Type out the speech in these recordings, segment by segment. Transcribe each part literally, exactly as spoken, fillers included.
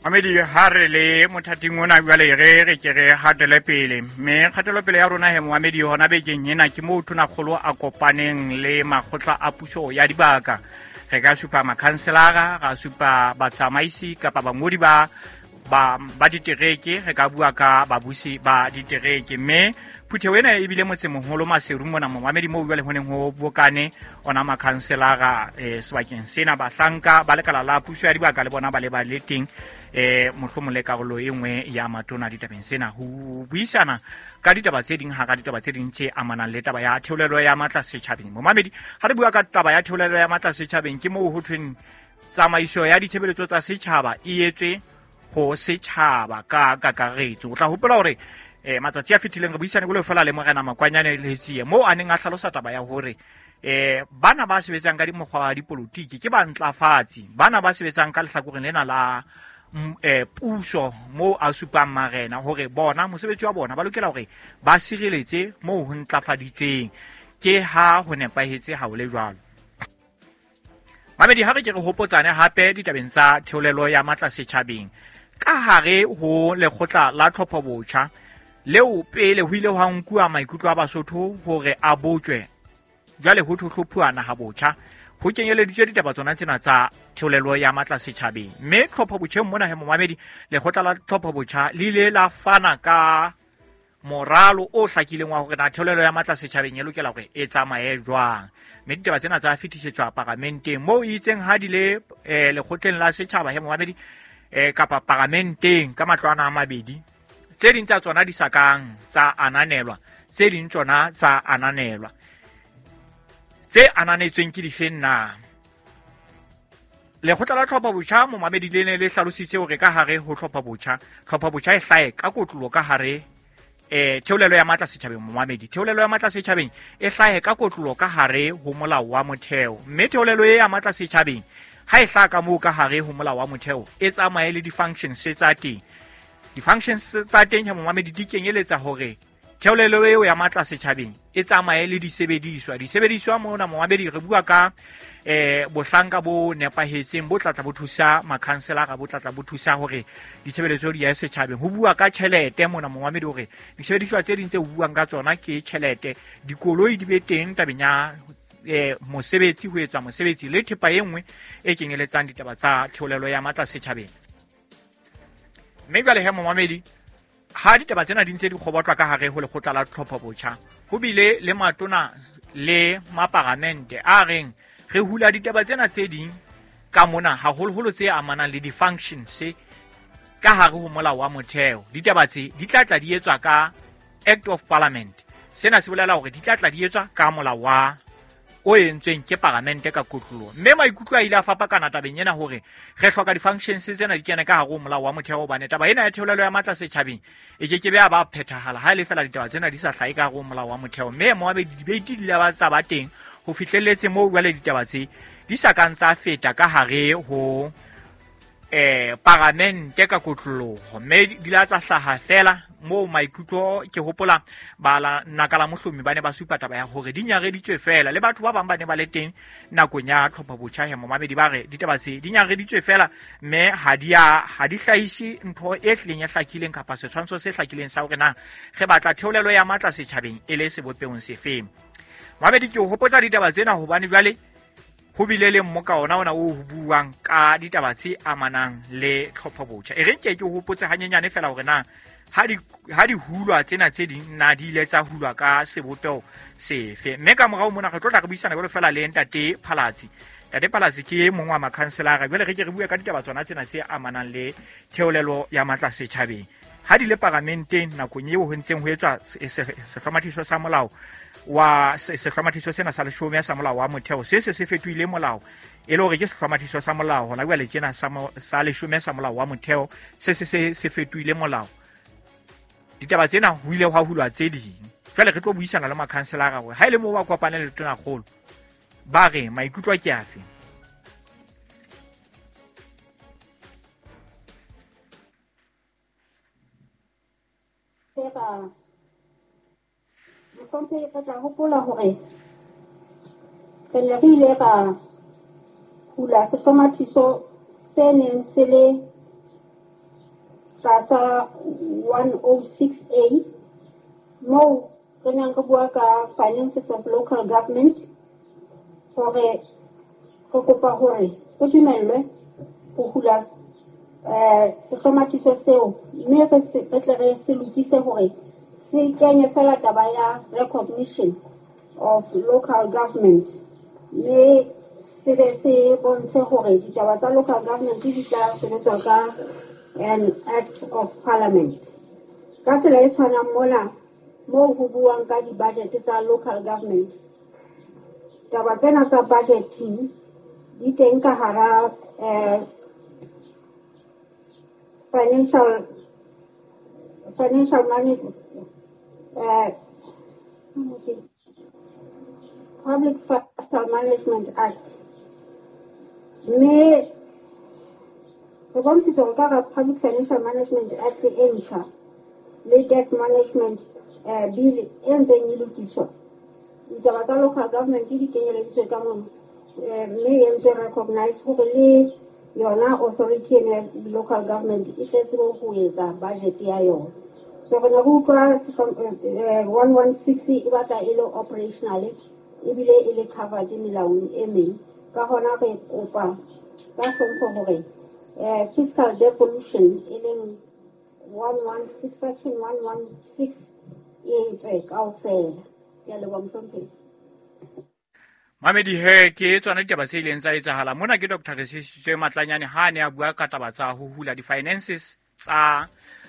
Mamedi ha re le mothating ona jwale re re ke re hatele pele mme kgatelopele ya rona he momamedi hona bekeng ena ke moo Tonakgolo a kopaneng le makgotla a puso ya dibaka. Re ka supa makhanselara, ra supa batsamaisi kapa bangodi ba ba ba ditereke, re ka bua ka babusi ba ditereke. Mme phutheho ena e bile motsemoholo Maseru mona momamedi moo jwale ho neng ho bokane ona makhanselara eh, sebakeng sena, bahlanka ba lekala la puso ya dibaka le bona ba le ba le teng eh mohlomong le karolo e nngwe ya matona ditabeng sena ho buisana ka ditaba tse ding hara ditaba tse ding tse amanang le taba ya theolelo ya matla setjhabeng. Momamedi ha re bua ka taba ya theolelo ya matla setjhabeng ke moo ho thweng tsamaiso ya ditshebeletso tsa setjhaba e etswe ho setjhaba ka kakaretso. O tla hopola hore eh matsatsi a fetileng re buisane go le fela le Morena Makwanyane Letsie moo a neng a hlalosa taba ya hore eh bana ba sebetsang ka dimokgwa wa dipolotiki ke bantlafatsi, bana ba sebetsang ka lehlakoreng lena la eh puso moo a supang marena hore bona mosebetsi wa bona ba lokela hore ba sireletse moo ho ntlafaditsweng. Ke ha ho nepahetse ha ho le jwalo. Mamedi ha re ke re hopotsane hape ditabeng tsa theolelo ya matla setjhabeng ka hare ho lekgotla la tlhopho botjha leo pele ho ile hwa nkuwa maikutlo a Basotho hore a botjwe, jwale ho hlophuwa naha botjha ho kenyeleditswe ditaba tsona tsena tsa theolelo ya matla setjhabeng. Mme tlhopho botjheng mona he momamedi lekgotla la tlhopho botjha le ile la fana ka moralo o hlakileng wa hore na theolelo ya matla setjhabeng e lokela hore e tsamaye jwang. Mme ditaba tsena tsa fetisetswa paramenteng moo e itseng ha di le eh, lekgotleng la setjhaba he momamedi eh, kapa paramenteng ka matlwana a mabedi, tse ding tsa tsona di sa kang tsa ananelwa, tse ding tsona tsa ananelwa. Tse ananetsweng ke difeng na? Lekgotla la tlhopho botjha momamedi le ne le hlalositse hore ka hare ho tlhopho botjha, tlhopho botjha e hlahe ka kotlolo ka hare eh theolelo ya matla setjhabeng momamedi, theolelo ya matla setjhabeng e hlahe ka kotlolo ka hare ho molao wa motheo. Mme theolelo e ya matla setjhabeng ha e hlaha ka moo ka hare ho molao wa motheo e tsamaye le di-functions tsa teng. Di-functions tsa teng ha momamedi di kenyeletsa hore theolelo eo ya matla setjhabeng e tsamaye le disebediswa. Disebediswa mona momamedi re bua ka eh bohlanka bo nepahetseng bo tlatla bo thusa makhanselara, bo tlatla bo thusa hore ditshebeletso di ya setjhabeng. Ho bua ka tjhelete mona momamedi hore disebediswa tse ding tse ho buang ka tsona ke tjhelete, dikoloi di be teng tabeng ya eh mosebetsi, ho etswa mosebetsi le thepa e nngwe e kenyeletsang ditaba tsa theolelo ya matla setjhabeng. Mme jwale he momamedi ha ditaba tsena di ntse di kgobotlwa ka hare ho lekgotla la tlhopho botjha, ho bile le matona le maparamente a reng re hula ditaba tsena tse ding ka mona haholoholo tse amanang le di-functions ka hare ho molao wa motheo. Ditaba tse di tla tla di etswa ka Act of Parliament. Sena se bolela hore di tla tla di etswa ka molao wa o entsweng ke paramente ka kotloloho. Mme maikutlo a ile a fapakana tabeng ena hore re hloka di-functions tsena di kene ka hare ho molao wa motheo, hobane taba ena ya theolelo ya matla setjhabeng e ke ke be ya ba phethahala ha e le fela ditaba tsena di sa hlahe ka hare ho molao wa motheo. Mme moabedi debate di ile ba tsa ba teng ho fihlelletse moo jwale ditaba tse di sa kang tsa feta ka hare ho eh paramente ka kotloloho, mme di la tsa hlaha fela moo maikutlo ke hopola ba la naka la mohlomi ba ne ba supa taba ya hore di nyareditswe fela le batho ba bang ba ne ba le teng nakong ya tlhopho botjha he momamedi ba re ditaba tse di nyareditswe fela mme ha di a ha di hlahise ntho e hlileng e hlakileng kapa setshwantsho se hlakileng sa hore na re batla theolelo ya matla setjhabeng e le sebopehong sefeng. Mamedi ke o hopotsa ditaba tsena hobane jwale ho bile le mmoka ona ona o ho buang ka ditaba tse amanang le tlhopho botjha. E re nke ke hopotse hanyenyane fela hore na ha di ha di hulwa tsena tse ding na di ile tsa hulwa ka sebopeho sefe. Mme ka morao mona re tlo tla re buisana jwalo fela le Ntate Phalatsi. Ntate Phalatsi ke e mong wa makhanselara. Jwale re ke re bue ka ditaba tsona tsena tse amanang le theolelo ya matla setjhabeng. Ha di le paramenteng nakong eo ho ntseng ho etswa sehlomathiso sa molao wa sehlomathiso sena sa leshome sa molao wa motheo se se se fetohile molao e le hore ke sehlomathiso sa molao hona jwale tjena sa sa leshome sa molao wa motheo se se se se fetohile molao. Ditaba tsena ho ile hwa hulwa tse ding. Jwale re tlo buisana le makhanselara hore ha e le moo ba kopane le Tonakgolo ba re maikutlo ke afe. Mohlomphehi re tla hopola hore re ne re ile ra hula sehlomathiso se neng se le tlasa one oh six A moo re neng re bua ka finances of local government hore re kopa hore re dumellwe ho hula eh sehlomathiso seo mme re re tle re se lokise hore se kenye fela taba ya recognition of local government mme se be se bontshe hore ditaba tsa local government di tla sebetswa ka an act of parliament. Ka tsela e tshwanang mona moo ho buang ka di-budget tsa local government, taba tsena tsa budgeting di teng ka hara eh, financial financial management eh, Public Financial Management Act. Mme re bontshitse hore ka hara Public Financial Management Act e ntjha le Debt Management eh, Bill e ntseng e lokiswa, ditaba tsa local government di kenyeleditswe ka mono mme e entswe recognize hore le yona authority ena ya local government e tle tsebe ho etsa budget ya yona. So re ne re utlwa one one six e batla e le operational ebile e le covered melaong e meng. Ka hona re kopa ka hlompho hore eh, fiscal devolution e leng one one six section one one six e tswe kaofela. Ke a leboha mohlomphehi. Mamedi he ke tsona ditaba tse ileng tsa etsahala mona. Ke Doctor Resisitswe Matlanyane ha ne a bua ka taba tsa ho hula di-finances tsa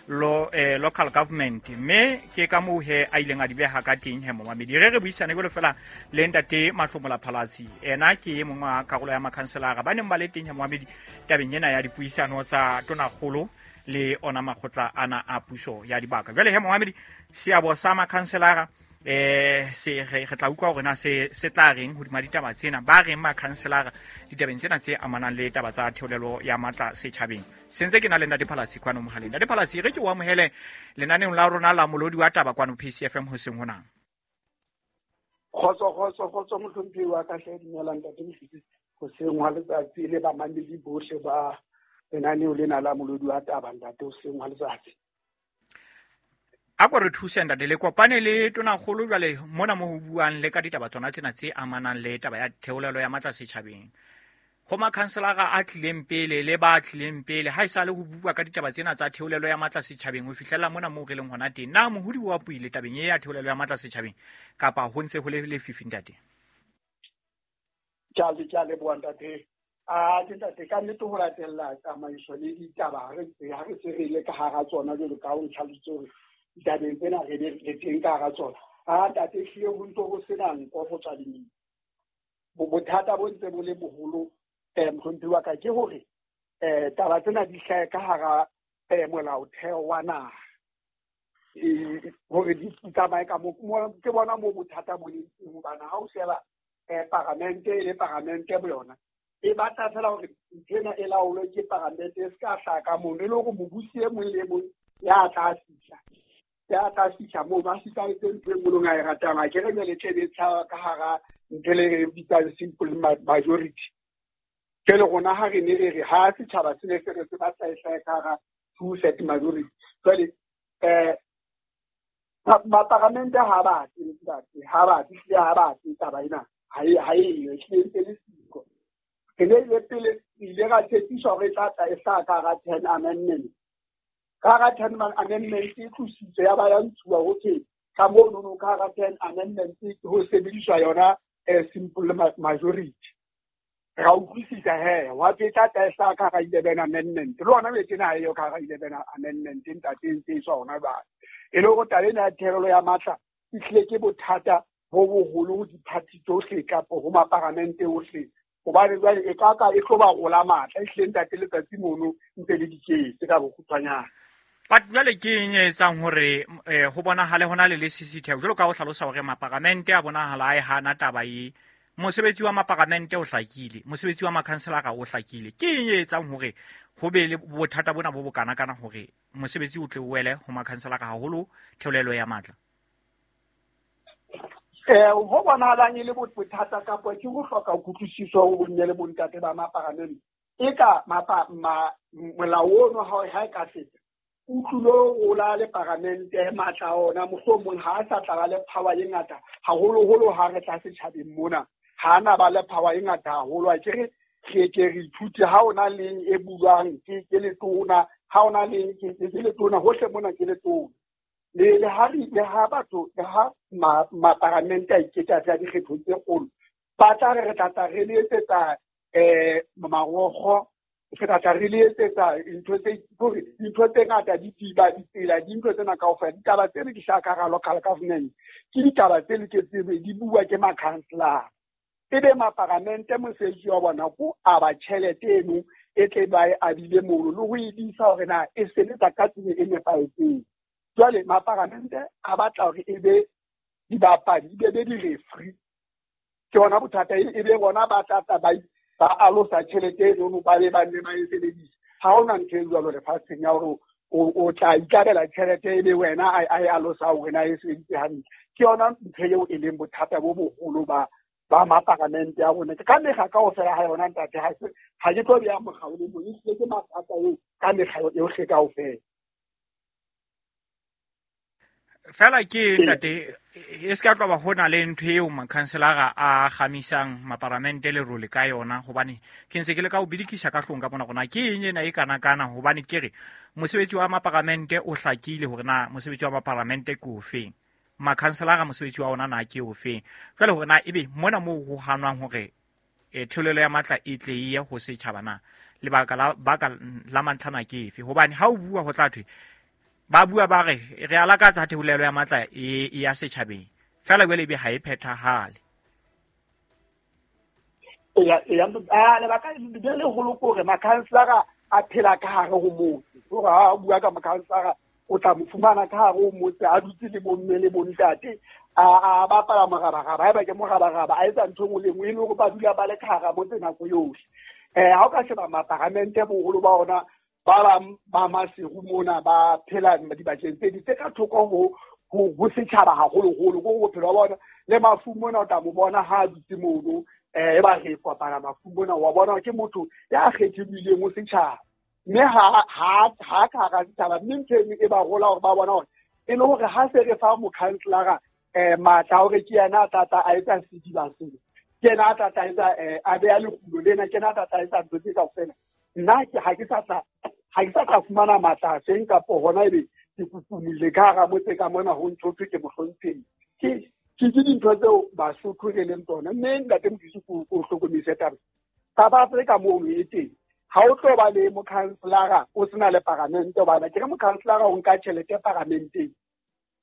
lo, eh, local government, mme ke ka moo he a ileng a di beha ka teng he momamedi. Re re buisane jwalo fela le ntate Mahlomola Phalatsi, ena ke e mongwe wa karolo ya makhanselara ba neng ba le teng he momamedi tabeng ena ya dipuisano tsa tonakgolo le ona makgotla ana a puso ya dibaka. Jwale he momamedi, seabo sa makhanselara eh se re tla utlwa hore na se se tla reng hodima ditaba tsena, ba reng makhanselara ditabeng tsena tse amanang le taba tsa theolelo ya matla setjhabeng. Se ntse ke na le ntate Phalatsi kwano mohaleng. Ntate Phalatsi, re ke o amohele lenaneong la rona la Molodi wa Taba kwano P C F M hoseng hona. Kgotso kgotso kgotso mohlomphehi wa ka hle, dumela ntate Mosisi hoseng hwa letsatsi le bamamedi bohle ba lenaneo lena la Molodi wa Taba ntate hoseng hwa letsatsi. A ko re thuse ntate, le kopane le tonakgolo jwale mona mo ho buang le ka ditaba tsona tsena tse amanang le taba ya theolelo ya matla setjhabeng. Ho makhanselara a tlileng pele le ba tlileng pele ha esale ho bua ka ditaba tsena tsa theolelo ya matla setjhabeng ho fihlela mona moo re leng hona teng, na mohodi wa puile tabeng e ya theolelo ya matla setjhabeng kapa ho ntse ho le lefifi ntate? Ke a le ke a leboha ntate. A ke ntate, ka nnete ho latella tsamaiso le ditaba ha re ha re se re ile ka hara tsona jwalo ka ho ntlhalositse hore ditabeng tsena re re teng ka hara tsona. A ntate, ehlile ho ntso ho sena nko ho tswa lemina. Bothata bo ntse bo le boholo eh mohlomphehi wa ka ke hore eh taba tsena di hlahe ka hara eh molaotheo wa naha hore di tsamaye ka mo ke bona mo bothata bo leng teng, hobane ha o sheba eh paramente e le paramente bo yona e batla fela hore ntho ena e laolwe ke paramente, e se ka hlaha ka mono, e le hore mobusi e mong le mong ya tla fihla ya tla fihla moo ba fihla etse ntho e nngwe a e ratang. A ke re jwale tle be tshaba ka hara ntho le re bitsang simple majority. Jwale rona ha re ne re re ha setjhaba se ne se re se batla e hlahe ka hara two set majority. Jwale eh maparamente ha batle ntate, ha batle hlile ha batle taba ena ha e ha e ehlile ntse le siko. Re ne ile pele ile ra tshepiswa hore e tla tla e hlaha ka hara ten amendment. Ka hara ten amendment e tlositswe ya ba ya ntshuwa ho thwe ka monono ka hara ten amendment ho sebediswa yona simple majority. Ra utlwisisa he wa tse tla tla e hlaha ka hara eleven amendment. Le hona jwale tjena ha eyo ka hara eleven amendment ntate, e ntse e tswa hona jwale. E le hore taba ena ya theolelo ya matla e hlile ke bothata bo boholo ho diphathi tsohle kapa ho maparamente ohle, hobane jwale e ka ka e tlo ba rola matla. Ehlile ntate letsatsi mono ntse le diketse ka bokgutshwanyane. But jwale ke eng e etsang hore eh, ho bonahale hona le lesisitheho jwalo ka ho hlalosa hore maparamente a bonahala a e hana taba e? Mosebetsi wa maparamente o hlakile, mosebetsi wa makhanselara o hlakile. Ke eng e etsang hore ho be le bothata bona bo bokana kana hore mosebetsi o tle o wele ho makhanselara haholo theolelo ya matla? Eh ho bonahalang e le bothata kapa ke ho hloka kutlwisiso ho bomme le bontate ba maparamente. E ka mapa ma molao ono ha ha e ka feta o tlilo rola le paramente matla ona mohlomong ha a sa tla ba le power e ngata haholoholo ha re tla setjhabeng mona ha ana ba le power e ngata haholo. A ke re re ke re ithute ha ona leng e buang ke ke letona, ha ona leng ke ke letona hohle mona ke letona. Le le ha re le ha batho le ha maparamente a iketsa tsa dikgetho tse kgolo ba tla re re tla tla re le etsetsa eh marokgo, re tla tla re le etsetsa ntho tse hore dintho tse ngata di tiba ditsela dintho tsena kaofela. Ditaba tse re di hlaka ka local government ke ditaba tse loketseng di bua ke makhanselara, ebe maparamente mosebetsi wa bona ko aba tjhelete eno e tle ba e abile mono le ho e disa hore na e sebetsa ka tsela e nepahetseng. Jwale maparamente a batla hore e be dibapadi, e be di-referee. Ke bona bothata, e be bona ba tla tla ba ba alosa tjhelete eno ba be ba nne ba e sebedise. Ha hona ntho e jwalo lefatsheng ya hore o tla ikabela tjhelete e be wena a e alosa hore na e sebedise hantle. Ke yona ntho eo e leng bothata bo boholo ba ba maparamente a rona. Ka mekga kaofela ha yona ntate, ha se ha ke tlo beha mokga o le mong, ehlile ke mathata eo ka mekga yohle kaofela. Fela ke ntate e se ka tloba ho na le ntho eo makhanselara a kgamisang maparamente le role ka yona, hobane ke ntse ke le ka o bidikisa ka hlong ka bona rona ke eng ena e kana kana, hobane ke re mosebetsi wa maparamente o hlakile hore na mosebetsi wa maparamente ke ofeng, makhanselara mosebetsi wa ona na ke ofeng. Jwale hore na ebe mona moo ho hanwang hore e theolelo ya matla e tle e ye ho setjhaba na lebaka la baka la mantlhana ke efe, hobane ha o bua ho tla thwe ba bua ba re re alakatsa theolelo ya matla e ya setjhabeng fela jwale ebe ha e phethahale. Ya ya a lebaka le leholo ke hore makhanselara a phela ka hare ho motse. Hore ha o bua ka makhanselara o tla mo fumana ka hare ho motse a dutse le bomme le bontate a a bapala morabaraba, haeba ke morabaraba a etsa ntho e nngwe le nngwe e le hore ba dula ba le ka hara motse nako yohle. Eh ha o ka sheba maparamente boholo ba ona ba bang ba Maseru mona ba phela dibakeng tse ding tse ka thoko ho ho setjhaba haholoholo, ko bophelo ba bona le mafu mona o tla mo bona ha a dutse mono eh e ba re kopana mafu mona wa bona ke motho ya kgethilweng ho setjhaba, mme ha ha ha ka hara setjhaba. Mme ntho e ba rola hore ba bona hore e le hore ha se re fa mokhanselara eh matla hore ke yena a tla tla a etsa sediba sena, ke yena a tla tla etsa a beha lekgulo lena, ke yena a tla tla etsa ntho tse kaofela, nna ke ha ke sa tla ha ke sa tla fumana matla a teng kapo hona ebe ke kukumile ka hara motse ka mona ho ntho thwe ke mohlomphehi. Ke ke ke dintho tseo Basotho re leng tsona. Mme ntate Modise ko hlokomise taba South Africa mono e teng, ha o tlo ba le mokhanselara o sena le paramente, hobane ke re mokhanselara o nka tjhelete paramenteng,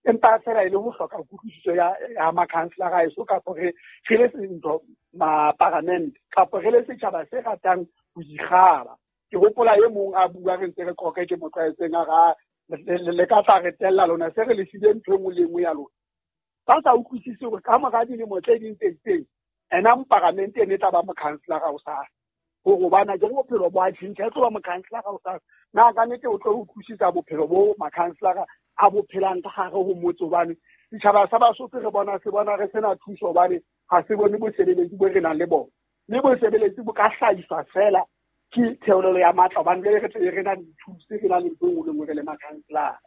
empa fela e le ho hloka kutlwisiso ya ya makhanselara eso kapo re re le ntho maparamente kapo re le setjhaba se ratang ho ikgaba. Ke hopola e mong a bua re ntse re qoqe ke mo tlwaetseng a ra le ka tla re tella lona se re le file ntho e nngwe le nngwe ya lona. Ba sa utlwisise hore ka mora dilemo tse ding tse itseng ena moparamente ene e tla ba mokhanselara hosasa, hore hobane ke bophelo bo a tjhentjha, e tlo ba mokhanselara hosasa. Na ka nnete o tlo utlwisisa bophelo bo makhanselara a bo phelang ka hare ho motse, hobane setjhaba sa Basotho re bona se bona re sena thuso hobane ha se bone bosebeletsi bo re nang le bona, mme bosebeletsi bo ka hlahiswa fela ke theolelo ya matla, hobane jwale re tle re na le dithuso, re na le ntho e nngwe le nngwe re le makhanselara.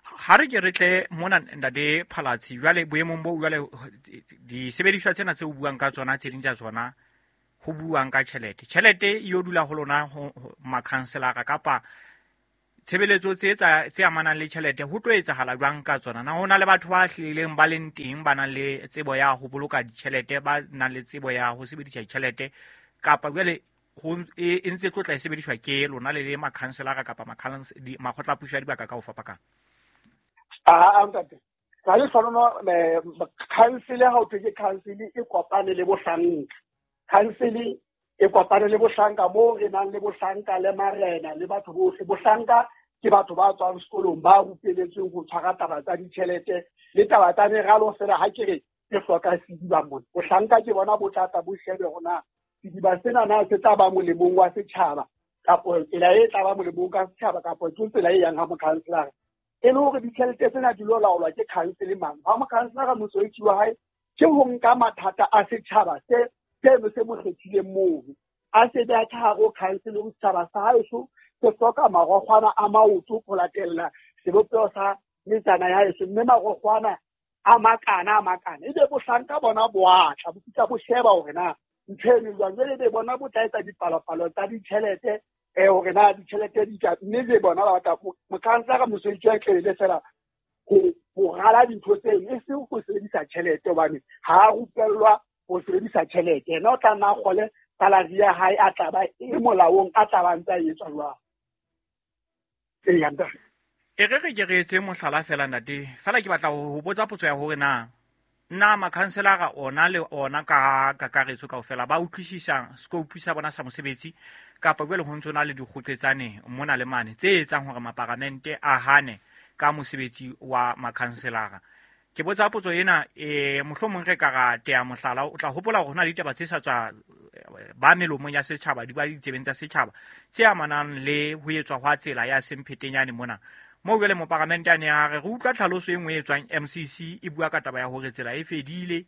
Ha re ke re tle mona ntate Phalatsi, jwale boemong bo jwale disebediswa tsena tse o buang ka tsona tse ding tsa tsona ho buang ka tjhelete, tjhelete e yo dula ho lona makhanselara kapa tshebeletso tse tsa tse amanang le tjhelete ho tlo etsahala jwang ka tsona? Na ho na le batho ba hlileng ba leng teng ba nang le tsebo ya ho boloka ditjhelete, ba nang le tsebo ya ho sebedisa ditjhelete, kapa jwale ho e ntse tlo tla e sebediswa ke lona le le makhanselara kapa makgotla a puso ya dibaka ka ho fapakana? Ah, ntate ka le hlono council ha o thwe ke council e kopane le bohlanka, council e kopane le bohlanka moo re nang le bohlanka le marena le batho bohle. Bohlanka ke batho ba tswang sekolong ba rupeletsweng ho tshwara taba tsa ditjhelete le taba tsa meralo fela. Ha ke re ke hloka sediba mona, bohlanka ke bona bo tla tla bo shebe hore na sediba sena na se tla ba molemong wa setjhaba kapo tsela e tla ba molemong ka setjhaba kapo ke tsela e yang ha mokhanselara. E le hore ditjhelete tsena di lo laolwa ke council mang? Ha mokhanselara mosebetsi wa hae ke ho nka mathata a setjhaba se seno se mo kgethileng mono, a se beha ka hare ho council, ho setjhaba sa haeso Se hloka marokgwana a maoto ho latella sebopeho sa metsana ya heso, mme marokgwana a makana a makana. Ebe bohlanka bona bo atla, bo fihla bo sheba hore na ntho eno jwang. Jwale ebe bona bo tla etsa dipalopalo tsa ditjhelete, eh hore na ditjhelete di tla, mme le bona ba batla mokhanselara mosebetsi wa tlele fela ho ho rala dintho tseno, e seng ho sebedisa tjhelete, hobane ha a rupellwa ho sebedisa tjhelete. Yena o tla nna a kgole salary ya hae a tla ba e molaong, a tla ba ntse a etswa jwang. Eya, ntate. E re re ke re etse mohlala fela ntate, fela ke batla ho botsa potso ya hore na na makhanselara ona le ona ka kakaretso kaofela ba utlwisisa scope sa bona sa mosebetsi, kapa jwale ho ntso na le dikgotletsane mona le mane tse etsang hore maparamente a hane ka mosebetsi wa makhanselara. Ke botsa potso ena, eh mohlomong re ka ra tea mohlala, o tla hopola hore hona le ditaba tse sa tswa ba melomong ya setjhaba, di ba ditsebeng tsa setjhaba tse amanang le ho etswa hwa tsela ya Semphetenyane mona. Moo jwale moparamente a ne a re re utlwa tlhaloso e nngwe e tswang M C C e bua ka taba ya hore tsela e fedile,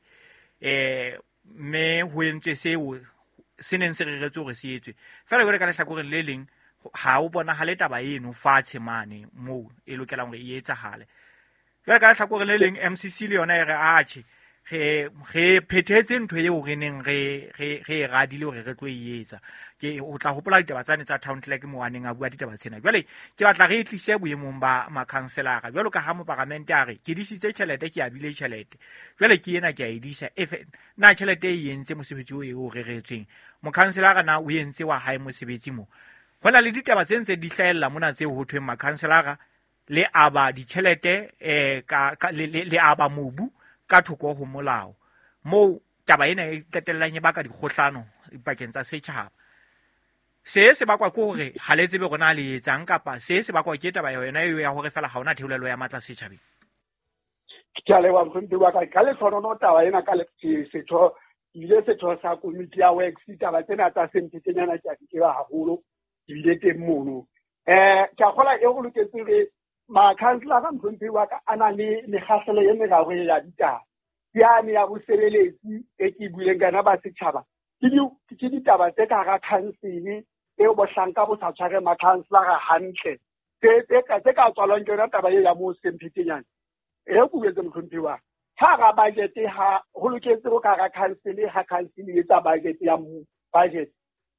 eh mme ho entswe seo se neng se reretswe hore se etswe. Fela jwale ka lehlakoreng le leng ha o bonahale taba eno fatshe mane moo e lokelang hore e etsahale. Jwale ka lehlakoreng le leng M C C le yona e re atjhe, re re phethetse ntho eo re neng re re re e radile hore re tlo e etsa. Ke o tla hopola ditaba tsane tsa town clerk moo a neng a bua ditaba tsena. Jwale ke batla re e tlise boemong ba makhanselara, jwalo ka ha moparamente a re ke disitse tjhelete, ke abile tjhelete, jwale ke ena ke a e disa. Efe na tjhelete e entse mosebetsi o e o reretsweng? Mokhanselara na o entse wa hae mosebetsi mo? Ho na le ditaba tse ntse di hlahella mona tseo ho thweng makhanselara le aba ditjhelete, eh ka le, le, le aba mobu ka thoko ho molao, moo taba ena e qetellang e baka dikgohlano dipakeng tsa setjhaba. Se se bakwa ke hore ha le tsebe hore na le etsang, kapa se se bakwa ke taba yona eo ya hore fela ha hona theolelo ya matla setjhabeng? Ke a leboha mohlomphehi wa ka. Ka lehlohonolo taba ena ka setho, ile setho sa komiti ya works, ditaba tsena tsa Semphetenyana ke a di tseba haholo, ke bile teng mono. Eh ke a kgolwa e go loketse re makhanselara mohlomphehi wa ka a na le mekgahlelo e meraro ya ditaba. Ke yane ya bosebeletsi e ke buileng ka yona ba setjhaba, ke ke ditaba tse ka hara khansele eo bohlanka bo sa tshware makhanselara hantle, tse tse ka tse ka tswalwang ke yona taba e ya moo Semphetenyane. E re ke buetse mohlomphehi wa ka, ha hara budget ha ho loketse ho ka hara khansele, ha khansele e etsa budget ya budget,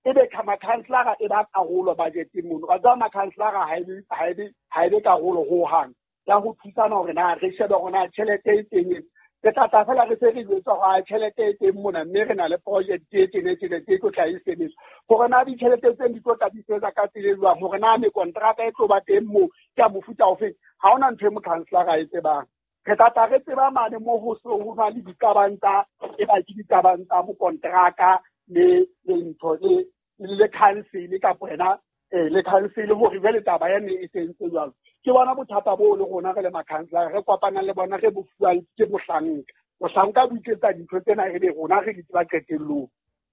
ebe makhanselara e ba karolo budgeteng mono. Wa tseba makhanselara ha ebe ha ebe ha ebe karolo hohang ya ho thusana hore na re shebe hore na tjhelete e teng. Re tla tla fela re se re jwetsa hore tjhelete e teng mona, mme re na le project e teng e teng e tlo tla e sebetsa. Hore na ditjhelete tseno di tlo tla di sebetsa ka tsela e jwang, hore na mekontraka e tlo ba teng moo ke ya mofuta ofe, ha hona ntho e mokhanselara e tsebang. Re tla tla re tseba mane moo ho so ho na le diqabang tsa e ba ke diqabang tsa mokontraka le le ntho le le khansele kapa yena eh le khansele hore jwale taba ya ne e sentse jwalo. Ke bona bothata bo le rona re le makhanselara re kopanang le bona, re bo fuwang ke bohlanka. Bohlanka bo iketsa dintho tsena re be rona re di tseba qetellong.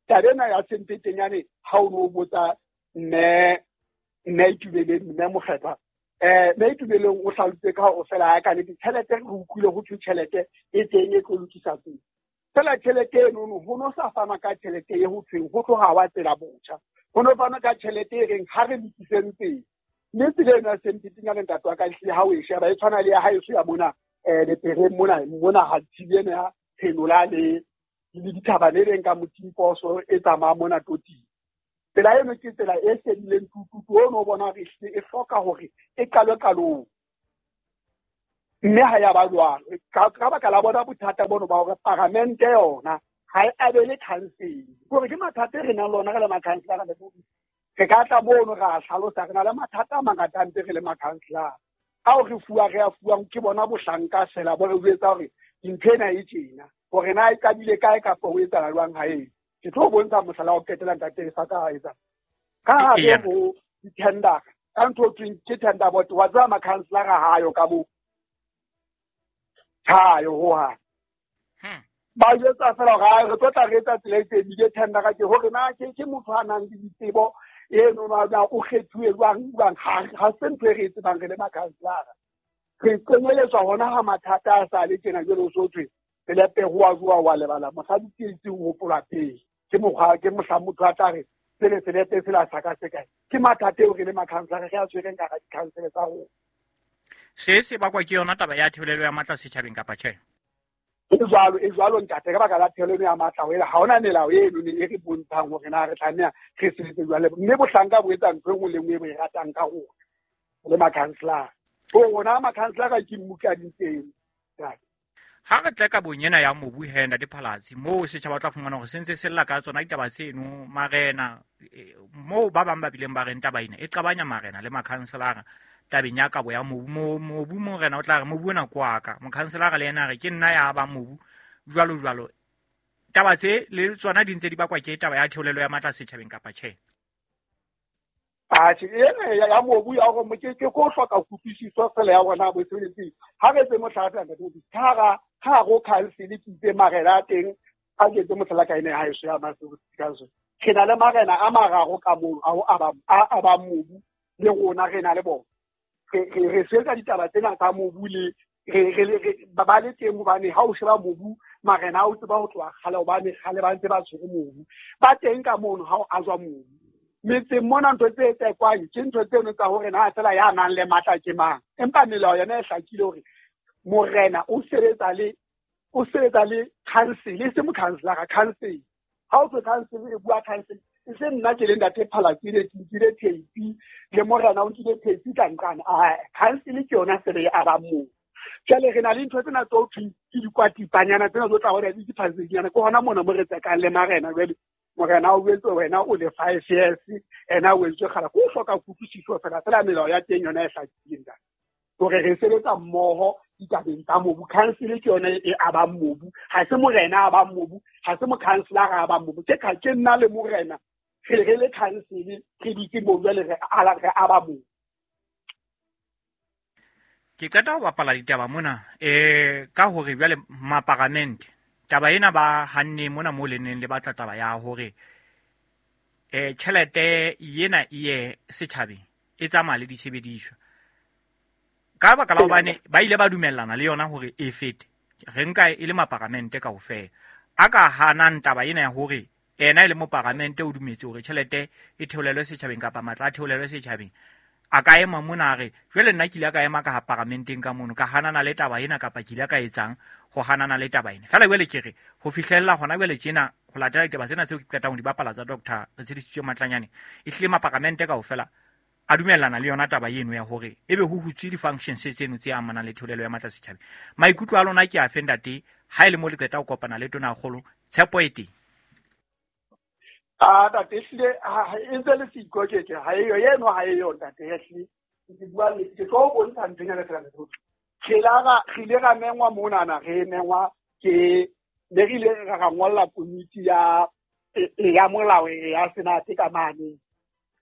Taba ena ya Semphetenyane ha o no botsa mme mme Itumeleng, mme Mokgethwa, eh mme Itumeleng o hlalositse ka hore fela ha ka nnete tjhelete re utlwile ho thwe tjhelete e teng e tlo lokisa tsela. Fela tjhelete eno no ho no sa fana ka tjhelete e ho thweng ho tloha wa tsela botjha, ho no fana ka tjhelete e reng ha re lokiseng tsela. Mme tsela eno ya Semphetenyane ntate wa ka ehlile ha o e sheba e tshwana le ya haeso ya mona eh Lepereng mona mona ha thibe ena ya Phenola le le dithaba le reng ka Motimposo e tsamaya mona Toting. Tsela eno ke tsela e shedileng tututu, o no bona hore ehlile e hloka hore e qalwe qalong. Mme ha ya ba jwalo ka ka baka la bona bothata bono ba hore paramente yona ha e abele khansele. Hore ke mathata e re nang le ona re le makhanselara le re ka tla mono ra hlalosa re na le mathata a mangata a ntse re le makhanselara ao re fuwa re a fuwang ke bona bohlanka fela bo re jwetsa hore ntho ena e tjena, hore na e qadile kae kapa ho etsahala jwang ha e. Ke tlo bontsha mohlala wa ho qetela ntate sa ka ha etsa ka hare ho di-tender, ka ntho e thweng ke tender board. Wa tseba makhanselara ha ayo ka moo, ha ayo hohang. Ba jwetsa fela hore re tlo tla re etsa tsela e itseng, ebile tendera ke hore na ke ke motho a nang le ditsebo eno na o kgethuwe jwang jwang, ha se ntho e re e tsebang re le makhanselara. Re kenyeletswa hona ha mathata a sa le tjena jwale o so thwe selepe ho wa jwa wa lebala mosadi ke itse ho hopola pele. Ke mokgwa ke mohla motho a tla re Sele selepe sela sa ka se kae. Ke mathata eo re le makhanselara re a tshwereng ka hara dikhansele tsa rona. Se se bakwa ke yona taba ya theolelo ya matla setjhabeng kapa tjhe? E jwalo, e jwalo ntate, ka baka la theolelo ya matla ho ela ha hona melao eno ne e re bontshang hore na re tlameha re sebetse jwale. Mme bohlanka bo etsa ntho e nngwe le nngwe e bo e ratang ka rona le makhanselara. Ho rona makhanselara ke mmukadi teng. Ha re tle ka bonyena ya mobu he ntate Phalatse, moo setjhaba tla fumana hore se ntse se lla ka tsona ditaba tseno marena, moo ba bang ba bileng ba reng taba ena e qabanya marena le makhanselara tabeng ya kabo ya mobu. Mobu morena o tla re mobu ona ke wa ka, mokhanselara le yena a re ke nna ya ba mobu, jwalo jwalo. Taba tse le tsona di ntse di bakwa ke taba ya theolelo ya matla setjhabeng kapa tjhe? Atjhe, ena ya mobu ya hore ke ke ko hloka kutlwisiso fela ya rona bo sebetseng. Ha re etse mohlala fela ntate, ka hara ka hare ho council ke itse marena a teng, a ke etse mohlala ka ene ha eso ya Maseru Council. Re na le marena a mararo ka moo a ho aba a aba mobu le rona re na le bona. Re re re sebetsa ditaba tsena tsa mobu le re re re ba ba le teng hobane ha o sheba mobu marena a o tseba ho tloha kgale hobane kgale ba ntse ba tshwere mobu. Ba teng ka mono ha o ajwa mobu. Metseng mona ntho tse tsekwang ke ntho tseno tsa hore na fela ya nang le matla ke mang. Empa melao yona e hlakile hore morena o sebetsa le o sebetsa le council, e se mokhanselara, council. Ha o tswe council e bua council, e se nna ke le ntate Phalatse ke nkile tape le morena o nkile tape ka nqane. Ah, council ke yona fela e abang moo. Jwale re na le ntho tsena tse ho thweng ke dikwatipanyana tsena tse tla hore di diphasenyana ke hona mona mo re tsekang le marena jwale. Morena o jwetse wena o le five years, ena o etswe kgala. Ke o hloka kutlwisiso fela fela melao ya teng yona e hlakileng ntate. Hore re sebetsa mmoho ditabeng tsa mobu. Council ke yona e abang mobu, ha se morena a abang mobu, ha se mokhanselara a abang mobu. Ke ke nna le morena re re le council re dutse moo jwale re ala re aba mobu. Ke qeta ho bapala ditaba mona eh ka hore jwale maparamente taba ena ba hanne mona mo le neng le batla taba ya hore eh tjhelete yena e ye setjhabeng e tsamaya le ditshebediswa. Ka baka la hobane ba ile ba dumellana le yona hore e fete, re nka e le maparamente kaofela. A ka hanang taba ena ya hore ena e le moparamente o dumetse hore tjhelete e theolelwe setjhabeng kapa matla a theolelwe setjhabeng, a ka ema mona a re jwale nna ke ile ka ema ka ha paramenteng ka mono ka hanana le taba ena kapa ke ile ka etsang ho hanana le taba ena. Fela jwale ke re ho fihlella hona jwale tjena ho latela ditaba tsena tseo ke qetang ho di bapala tsa Doctor Retshedisitswe Matlanyane, e hlile maparamente kaofela a dumellana le yona taba eno ya hore ebe ho hutswe di-functions tseno tse amanang le theolelo ya matla setjhabeng. Maikutlo a lona ke afe ntate ha e le mo le qeta ho kopana le Tonakgolo, tshepo e teng? Ah, ntate, ehlile e ntse le siko ke ke ha eyo eno ha eyo ntate ehlile. Ke bua le ke tlo bontsha nthonyana fela ntate. Re la ra re ile ra mengwa monana re mengwa ke ne re ile ra ra ngolla komiti ya ya molao ya Senate ka mane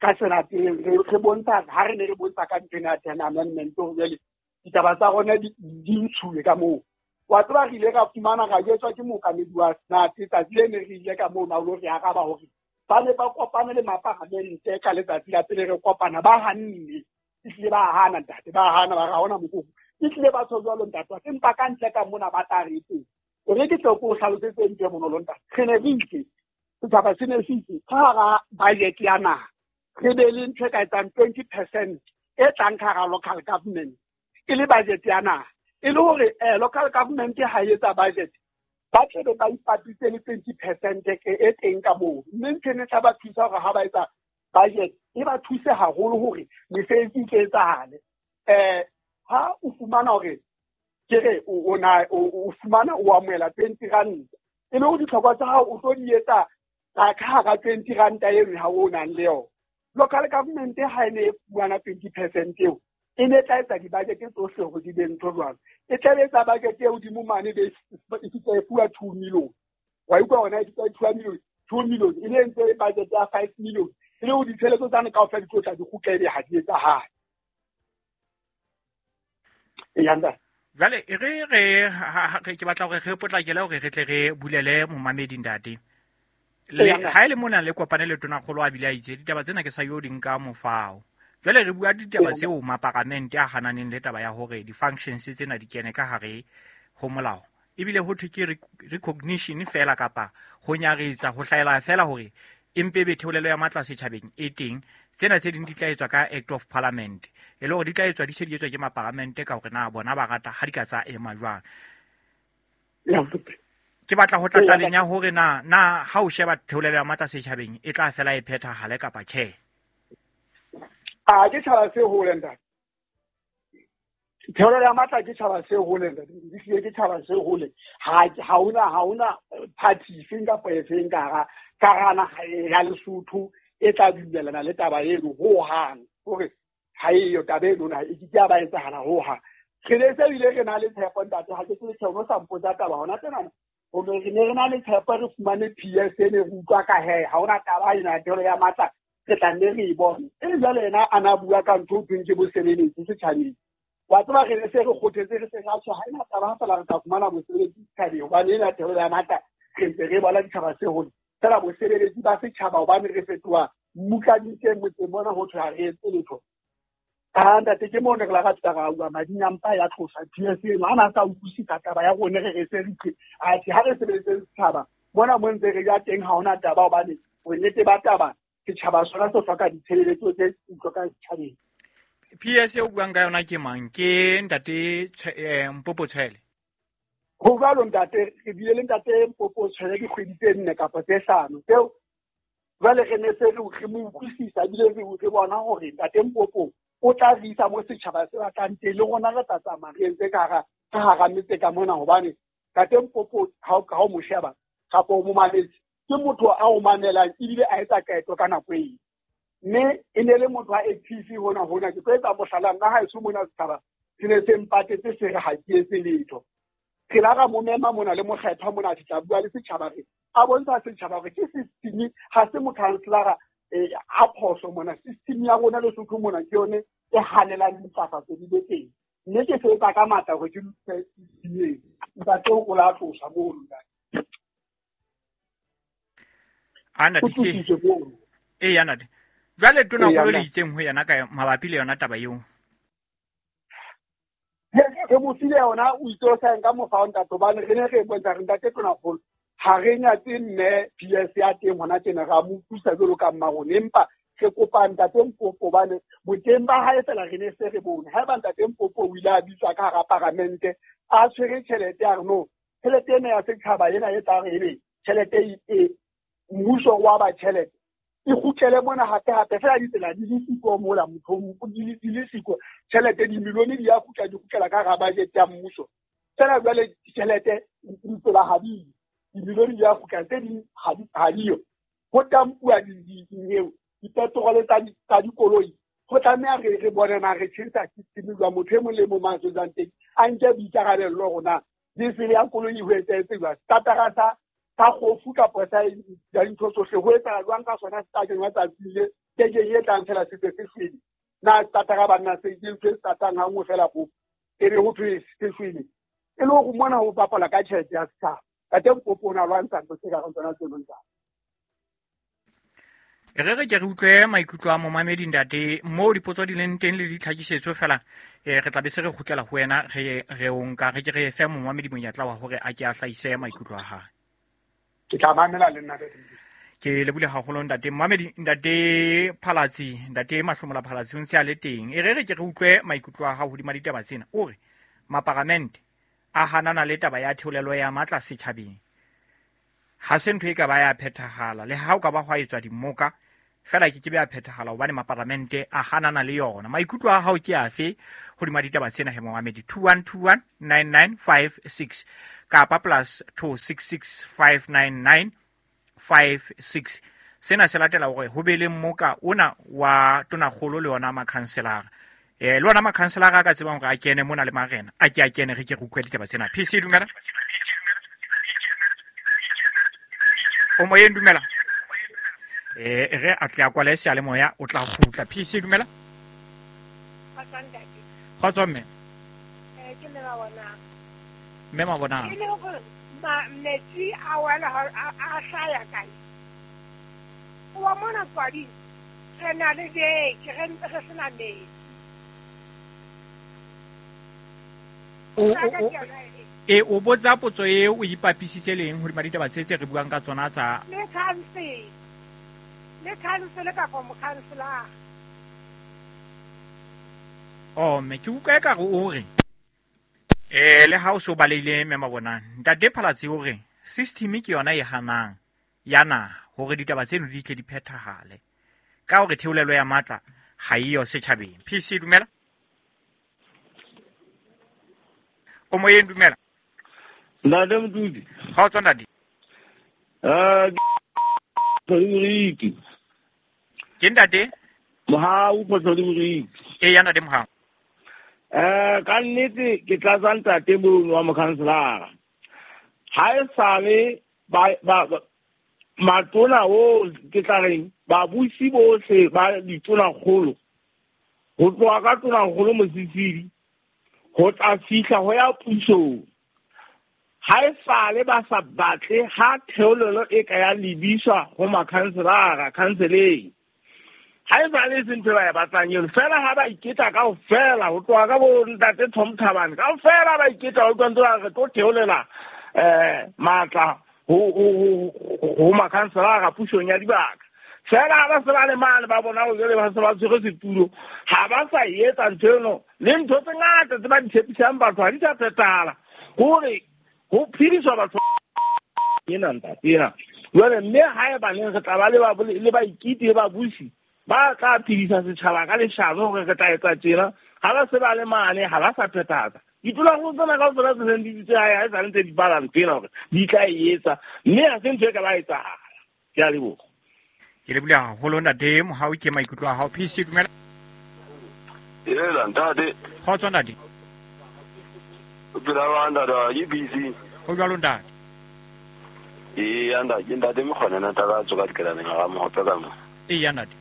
ka Senate re re bontsha ha re ne re bontsha ka nthwena ya ten amendment hore jwale ditaba tsa rona di di ntshuwe ka moo. Wa tseba re ile ra fumana ra jwetswa ke mookamedi wa Senate tsatsi le ne re ile ka moo na o lo re araba hore ba ne ba kopane le maparamente ka letsatsi la pele re kopana ba hanne, ehlile ba hana ntate, ba hana ba ra hona mokopu. Ehlile ba tjho jwalo ntate, empa ka ntle ka mona ba tla re teng. Hore ke tle ke o hlalosetse ntho e bonolo ntate. Re ne re itse, setjhaba se ne se itse ka hara budget ya naha re be le ntho e ka etsang twenty percent e tlang ka hara local government e le budget ya naha. E le hore eh local government ha e etsa budget ba tle be ba ipapise le twenty percent e teng ka moo. Mme ntho ena e tla ba thusa hore ha ba etsa budget e ba thuse haholo hore mesebetsi e tle etsahale. Eh ha o fumana hore ke re o na o fumana o amohela twenty rand e le hore ditlhoko tsa hao o tlo di etsa ka hara twenty rand eno ha o nang le yona. Local government ha e ne e fumana twenty percent eo e ne tla etsa di-budget tsohle hore di be ntho jwalo. E tla etsa budget e hodimo mane be e fihla e fuwa two million. Wa utlwa hona e fihla e two million, two million e ne ntse budget ya five million. E le hore ditjhelete tsane kaofela di tlo tla di kgutla ebe ha di etsahale. E ntate. Jwale e re re ke batla hore re potlakele hore re tle re bulele momamedi ntate. Le ha e le mona le kopane le Tonakgolo a bile a itse ditaba tsena ke sa yo di nka mofao. Jwale re bua ditaba tseo maparamente a hananeng le taba ya hore di-functions tsena di kene ka hare ho molao. Ebile ho thwe ke recognition fela kapa ho nyaretsa ho hlaela fela hore Empe be theolelo ya matla setjhabeng e teng. Tsena tse ding di tla etswa ka Act of Parliament. E le hore di tla etswa di se di etswa ke maparlamente ka hore na bona ba rata ha di ka tsa ema jwang. Ke batla ho tla tabeng ya hore na na ha o sheba theolelo ya matla setjhabeng e tla fela e phethahale kapa tjhe. A ke tjhaba se hole ntate. Theolelo ya matla ke tjhaba se hole ntate. Di hlile ke tjhaba se hole. Ha ha hona ha hona party efeng kapa efeng ka hara ka hara naha ya Lesotho e tla dumellana le taba eno ho hang. Hore ha eyo taba eno na e ke ke ya ba etsahala ho hang. Re ne se bile re na le tshepo ntate, ha ke tsebe tjhe, o sa mpotsa taba hona tjena. Hore re ne re na le tshepo re fumane P S e ne re utlwa ka he, ha hona taba ena theolelo ya matla re tla nne re e bone. E le jwale yena a na bua ka ntho ho thweng ke bosebeletsi setjhabeng. Wa tseba re ne se re kgothetse re se ra tjho, ha ena taba ha fela re tla fumana bosebeletsi setjhabeng hobane ena theolelo ya matla re ntse re bona ditjhaba se hole. Fela bosebeletsi ba setjhaba hobane re fetoha mmutladitseng motseng mona ho thwe ha re etse letho. Ah ntate ke moo ne re la ra fihla ra bua mading a mpa ya tlosa P S eno ha na sa utlwisisa taba ya rona re re se re tle. Atjhe ha re sebeletse setjhaba mona mo ntse re ya teng ha hona taba hobane bonnete ba taba setjhaba sona se hloka ditshebeletso tse hlokang setjhabeng. P S e o buang ka yona ke mang? Ke ntate Mpopo Tshwele. Ho jwalo ntate, re bile le ntate Mpopo Tshwele dikgwedi tse nne kapa tse hlano. Tseo jwale re ne se re mo utlwisisa ebile re re bona hore ntate Mpopo o tla re isa mo setjhaba se batlang teng, le rona re tla tsamaya re entse ka hara ka hara metse ka mona hobane ntate Mpopo ha o ha o mo sheba kapa o mo mametse ke motho a o mamelang ebile a etsa qeto ka nako eo. Mme e ne le motho a active hona hona. Ke tlo etsa mohlala nna haeso mona setjhaba se ne se mpatetse se re ha ke etse letho. Re la ra mo mema mona le mokgethwa mona a tla bua le setjhaba re a bontsha setjhaba hore ke system ha se mokhanselara a phoso mona. System ya rona Lesotho mona ke yone e hanelang dintlafatso di be teng. Mme ke sebetsa ka matla hore ke lokise system eo. Ntate o la tlosa mono ntate. Ana O di ke tlositswe mono. E ya ntate. Jwale tona Eya, kgolo le ntate. itseng ho yena ka mabapi le yona taba eo. Re mo file yona o itse o sa nka mofa wa ntate hobane re ne re bontsha re ntate tona kgolo ha re nyatse mme P S ya teng hona tjena ra mo utlwisa jwalo ka mma rona, empa re kopa ntate Mpopo hobane boteng ba hae fela re ne se re bone. Haeba ntate Mpopo o ile a bitswa ka hara paramente a tshwere tjhelete ya re no tjhelete ena ya setjhaba ena e tla re ebe tjhelete e, e mmuso wa ba tjhelete e kgutlele mona hape hape fela ditsela di le siko mola motho di le di le siko tjhelete dimilione di ya kgutla di kgutlela ka hara budget ya mmuso. Fela jwale tjhelete ditsela ha di dimilione di ya kgutla tse ding ha di ha diyo. Ho tampuwa di dipetrole tsa tsa dikoloi. Ho tlameha re re bone na re tjhentjha system jwang motho e mong le mong a tswang teng a nke boikarabello rona diesel ya koloi ho etsahetse jwang, startera sa sa kgofu kapa sa ya dintho tsohle ho etsahala jwang ka sona se tla kenywa tsatsing le kekeng e tlang fela se se se shwele. Na startera banna se ke ntho e startang ha nngwe fela kgofu e be ho thwe se shwele. E le hore mona ho bapala ka tjhelete ya setjhaba. Ntate Mpopo o na lwantsha ntho tse ka reng tsona tseno ntate. Re re ke re utlwe maikutlo a momamedi ntate moo dipotso di leng teng le ditlhakisetso fela eh re tla be se re kgutlela ho wena re re o nka re ke re fe momamedi monyetla wa hore a ke a hlahise maikutlo a hae. Ke tla mamela le nna. Ke lebule haholo ntate momamedi ntate Phalatsi ntate Mahlomola Phalatsi o ntse a le teng. E re re ke re utlwe maikutlo a hao hodima ditaba tsena. O re maparamente a hanana le taba ya theolelo ya matla setjhabeng. Ha se ntho e ka ba ya phethahala le ha o ka ba hwa etswa dimoka fela ke ke be ya phethahala hobane maparlamente a hanana le yona. Maikutlo a hao ke afe hodima ditaba tsena he momamedi? two one two one nine nine five six kapa plus two six six five nine nine five six. Sena se latela hore ho be le mmoka ona wa tonakgolo le yona makhanselara. Eh le ona makhanselara a ka tsebang hore a kene mona le marena a ke a kene re ke re utlwe ditaba tsena. P C dumela. O moyeng dumela. Eh re a tle a kwale seyalemoya o tla kgutla. P C dumela. Kgotso mme. Eh ke mme Mabonang. Mme Mabonang. Ke le hore ma metsi a wela a hlaya kae? Wa mona tswadi re na le beke re ntse re sena metsi. O o e o botsa potso e o ipapisitse leng hodima ditaba tse tse re buang ka tsona tsa le council. Le khansele kapa mokhanselara. Oh, me ke utlwa ekare o re eh le ha o so baleile mme mabonang ntate Phalatse o re system ke yona e hanang ya naha hore ditaba tseno di tle di phethahale ka hore theolelo ya matla ha e yo setjhabeng. P C dumela. O moyeng dumela. Ntate Motudi. Kgotso ntate. Ah, ke Ke ntate? Mohau Kgotso Moriki. E ya ntate Mohau. Eh ka nnete ke tlatsa ntate mono wa mokhanselara. Ha e sale ba ba matona o ke tla reng babusi bohle ba ditona kgolo ho tloha ka tona kgolo Mosisili ho tla fihla ho ya pusong. Ha e sale ba sa batle ha theolelo e ka ya lebiswa ho makhanselara khanseleng. Ha e sale se ntho ba e batlang eno fela ha ba iketla kaofela ho tloha ka bo ntate Tom Thabane kaofela ba iketla ho utlwa ntse ba re tlo theolela eh matla ho ho ho makhanselara pusong ya dibaka. Fela ha ba se ba le mane ba bona hore jwale ba se ba tshwere setulo ha ba sa etsa ntho eno le ntho tse ngata tse ba di tshepisang batho ha di sa phethahala hore ho phediswa batho ena ntate ena. Jwale mme ha e baneng re tla ba le ba le baikiti le babusi ba tla phedisa setjhaba ka leshano hore re tla etsa tjena ha ba se ba le mane ha ba sa phethahatsa. Ditulong tsena kaofela tse seng di dutse hae ha e sa ntse di bala ntho ena hore di tla e etsa mme ha se ntho e ka ba etsahala. Ke a leboha. Ke leboha haholo ntate Mohau ke maikutlo a hao. P C dumela. Ela ntate. Kgotso ntate. O phela jwang ntate? Ke P C. Ho jwalo ntate. Eya ntate, ke ntate Mokgona ntate ka tswa ka dikelaneng ga Mohope ka mo. Eya ntate.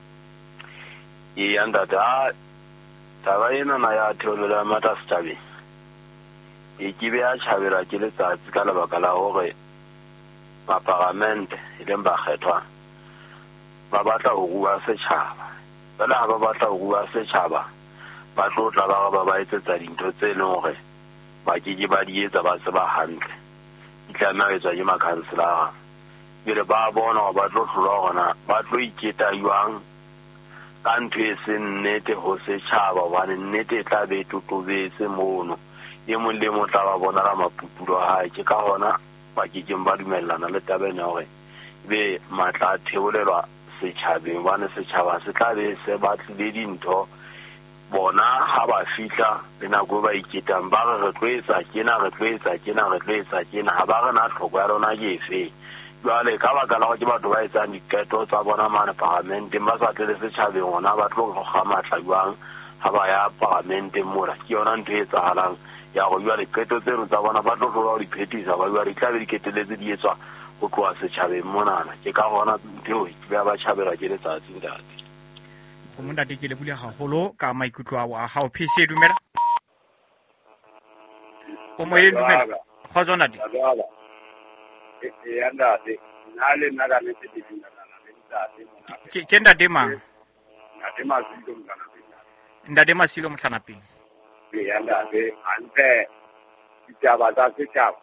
Eya ntate, a taba ena na ya theolelo ya matla setjhabeng e ke be ya tjhabelwa ke letsatsi ka lebaka la hore maparamente e leng bakgethwa ba batla ho rua setjhaba. Jwale ha ba batla ho rua setjhaba ba tlo tla ba re ba ba etsetsa dintho tse leng hore ba ke ke ba di etsa ba tseba hantle. Di tlameha ho etswa ke makhanselara. Jwale ba bona hore ba tlo hlolwa hore na ba tlo iketa jwang ka ntho e seng nnete ho setjhaba hobane nnete e tla be e totobetse mono. E mong le mong tla ba bonala maputulo a hae. Ke ka hona ba ke keng ba dumellana le taba ena hore ebe matla a theolelwa setjhabeng hobane setjhaba se tla be se batlile dintho bona ha ba fihla le nako e ba iketang ba re re tlo etsa tjena re tlo etsa tjena re tlo etsa tjena ha ba re na tlhoko ya lona ke efe. Jwale ka baka la hore ke batho ba etsang diqeto tsa bona mane paramenteng ba sa tle le setjhabeng hona ba tlo kga matla jwang ha ba ya paramenteng mola. Ke yona ntho e etsahalang ya hore jwale qeto tseno tsa bona ba tlo hlola ho di phethisa ba jwale di tla be di keteletse di etswa ho tloha setjhabeng monana. Ke ka hona ntho eo ke ba ba tjhabelwa ke letsatsi ntate. Kgomo ntate ke lebohile haholo ka maikutlo ao a hao. P C dumela. O moyeng dumela. Kgotso ntate. Eya ntate, nna le nna ka nnete ke dumellana le ntate mona. Ke ke ntate mang? Ntate Masilo Mohlanapeng. Ntate Masilo Mohlanapeng. Eya ntate, hantle ditaba tsa setjhaba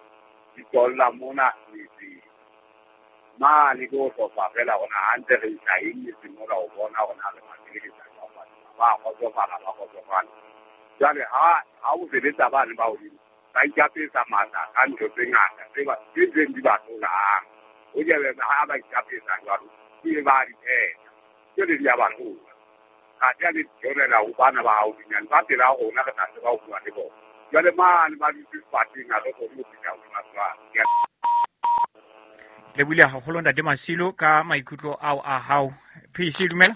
di tswella mona metseng. Mane ke ho hlopha fela hona hantle re isa eng metseng mona ho bona hore na re ba sebedisa jwang batho ba kgotsofala ba kgotsofala. Jwale ha ha o sebetsa bane ba hodimo ba ikapesa matla ka ntho tse ngata tse ba tse ntseng di ba hlolang. O jebe ha ba ikapesa jwalo ke ba di phetha jwale di a ba hlola. Ha di a le theolela ho bana ba haufinyane ba pela rona re tla tseba ho bua le bona. Jwale mane ba dutse sefateng ha re kgone ho fihla hodima jwang. Lebohile haholo ntate Masilo ka maikutlo ao a hao. P C dumela.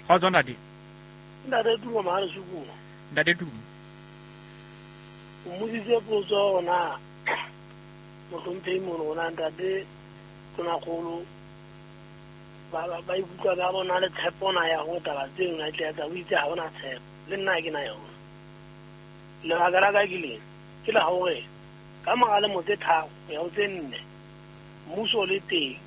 Kgotso ntate. Ntate Tumo mahare shuku. Ntate Tumo. O mmotsitse potso ona mohlomphehi mono ona ntate Tonakgolo ba ba ikutlwa ba bona le tshepo na ya ho taba tseno na tla etsa o itse ha ona tshepo le nna ke na yona. Lebaka la ka ke lena ke la hore ka mora lemo tse tharo ho ya ho tse nne mmuso o le teng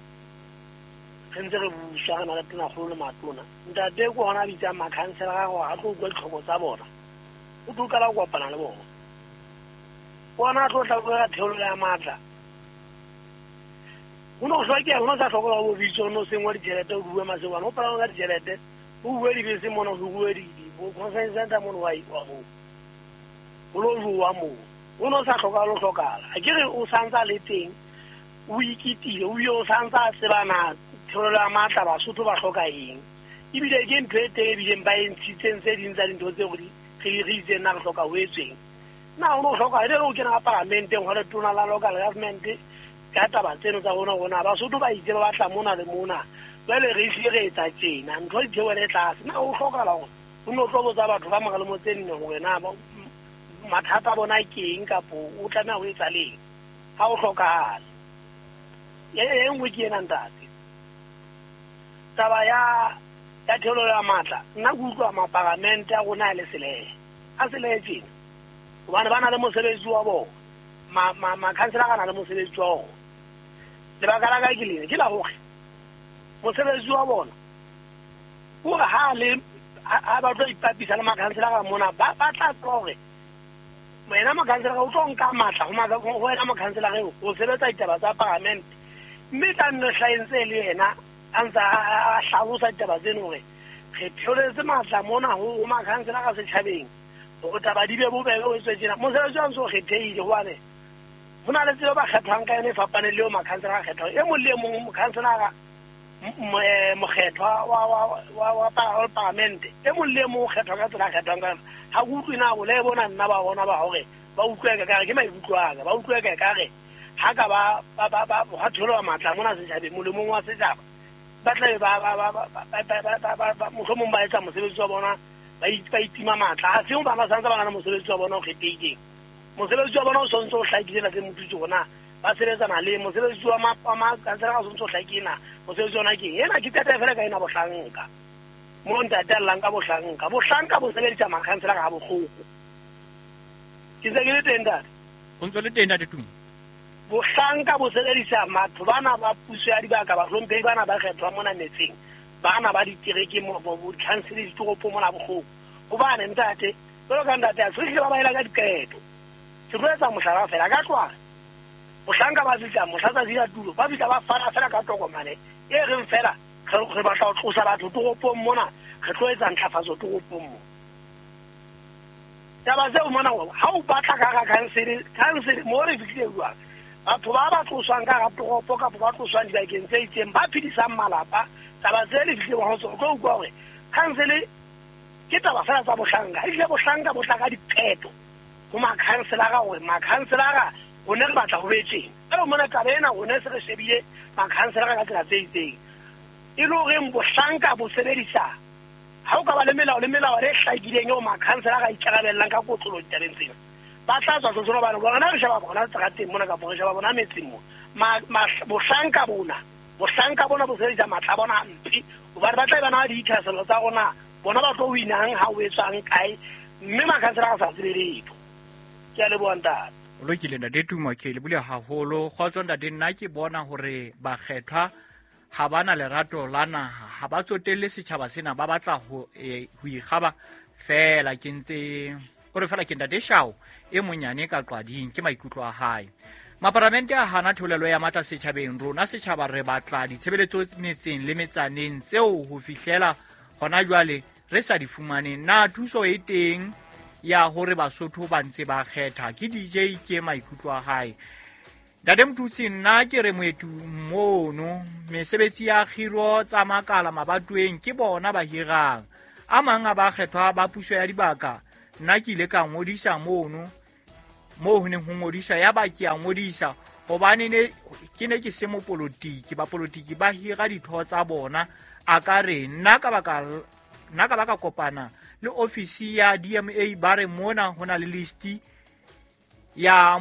re ntse re buswa re na le Tonakgolo le matona. Ntate ke hona a bitsang makhanselara hore a tlo utlwa ditlhoko tsa bona o tlo qala ho kopana le bona. Bona a tlo tla bua ka theolelo ya matla Ho no hlokeha, ho no sa hlokola ho bitso no sengwa ditjhelete o bue masewana o palama ka ditjhelete o bue dibese mona ho bue di bo conference center mona wa wa ho ho lo jowa moo o no sa hloka lo hlokala a ke re o santsa le teng o ikitile o yo santsa a tsebana theolelo ya matla Basotho ba hloka eng ebile ke ntho e teng ebileng ba e ntshitseng tse ding tsa dintho tseo re re itseng na re hloka ho etsweng na o no hloka e le o kena ka paramenteng hore tona la local government ka taba tseno tsa rona rona Basotho ba itse ba batla mona le mona jwale re hlile re etsa tjena ntho di theohele tlase na o hlokahala hore o no tlo botsa batho ba mora le motse nne hore na mathata a bona ke eng kapo o tlameha ho etsa leng ha o hlokahale e e nngwe ke ena ntate taba ya ya theolelo ya matla nna ke utlwa maparamente a rona a le selehe a selehe tjena hobane ba na le mosebetsi wa bona ma ma makhanselara a na le mosebetsi wa ona lebaka la ka ke lena ke la hore mosebetsi wa bona hore ha le ha ba tlo ipapisa le makhanselara mona ba ba tla tseba hore wena mokhanselara o tlo nka matla ho wena mokhanselara eo o sebetsa ditaba tsa paramente mme tla nne hlaentse le yena a ntse a hlalosa ditaba tseno hore re theoletse matla mona ho makhanselara setjhabeng hore taba di be bobebe o etswe tjena mosebetsi wa ntse o kgethehile hobane ho na le tsela ba kgethwang ka yona e fapaneng le eo makhanselara a kgethwang e mong le e mong mokhanselara mokgethwa wa wa wa wa paramente e mong le e mong o kgethwa ka tsela a kgethwang ka yona ha ke utlwe na bolae bona nna ba bona ba hore ba utlwe ka kare ke maikutlo a ka ba utlwe ka kare ha ka ba ba ba ba ha tholwa matla mona setjhabeng molemong wa setjhaba ba tla be ba ba ba ba ba ba mohlomong ba etsa mosebetsi wa bona ba ba itima matla ha se ba ba santse ba na le mosebetsi wa bona o kgethehileng mosebetsi wa bona o sontse o hlakile na tse motutsi rona ba sebetsana le mosebetsi wa makhanselara o sontse o hlakile na mosebetsi ona ke ena ke qeta fela ka ena bohlanka mo ntate a llang ka bohlanka bohlanka bo sebedisa makhanselara ha bohloko ke ntse ke le teng ntate o ntse le teng ntate Tumo bohlanka bo sebedisa batho bana ba puso ya dibaka bahlomphehi bana ba kgethwa mona metseng bana ba ditereke mo bo dikhansele ditoropo mona bohloko hobane ntate jwalo ka ntate a se ba ba ela ka diqeto ke tlo etsa mohlala fela ka tloha bohlanka ba fihla mohla tsatsi la tulo ba fihla ba fana fela ka tokomane e reng fela re batla ho tlosa batho toropong mona re tlo etsa ntlafatso toropong mo taba tseo mona ha o batla ka hara khansele khansele mo re fihlile jwang batho ba ba tloswang ka hara toropo kapa ba tloswang dibakeng tse itseng ba phedisang malapa taba tse le fihlile ho tsona o tlo utlwa hore khansele ke taba fela tsa bohlanka ehlile bohlanka bo tla ka diqeto ho makhanselara hore makhanselara rone re batla ho betseng jwale mona taba ena rone se re shebile makhanselara ka tsela tse itseng e le horeng bohlanka bo sebedisa ha o ka ba le melao le melao e hlakileng eo makhanselara a ikarabellang ka kotlolo ditabeng tsena ba tla tswa tsotsolo hobane bona re sheba bona seterateng mona kapa re sheba bona metseng mo bohlanka bona bohlanka bona bo sebedisa matla a bona hampe hobane ba tla be ba na le dithahasello tsa rona bona ba tlo winang ha o etswang kae mme makhanselara a sa tsebe letho ke a leboha ntate o lokile ntate Tumo ke lebile haholo kgotso ntate nna ke bona hore bakgethwa ha ba na lerato la naha ha ba tsotelle setjhaba sena ba batla ho ho ikgaba fela ke ntse o re fela ke ntate Shao e monyane ka Qwading ke maikutlo a hae maparamente a hana theolelo ya matla setjhabeng rona setjhaba re batla ditshebeletso metseng le metsaneng tseo ho fihlela hona jwale re sa di fumaneng na thuso e teng ya hore Basotho ba ntse ba kgetha ke D J ke maikutlo a hae Ntate Motutsi nna ke re moetu mono mesebetsi ya kgiro tsa makala mabatoweng ke bona ba hirang a mang a ba kgethwa ba puso ya dibaka nna ke ile ka ngodisa mono moo ho neng ho ngodiswa ya ba ke a ngodisa hobane ne ke ne ke se mopolotiki bapolotiki ba hira ditho tsa bona a ka re nna ka baka nna ka baka kopana le ofisi ya D M A ba re mona ho na le list ya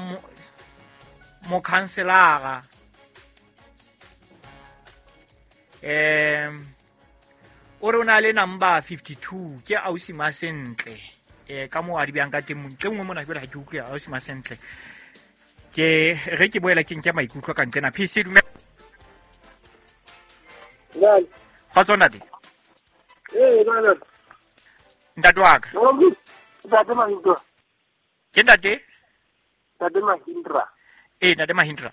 mokhanselara um o re o na le number fifty-two ke ausi Masentle eh ka mo a di bjang ka teng ntle nngwe mona ke ha ke utlwe ausi Masentle ke re ke boela ke nke maikutlo ka ntlena P C dumela kgotso ntate eh bana ntate wa ka ntate Mahindra ke ntate ntate Mahindra eh ntate Mahindra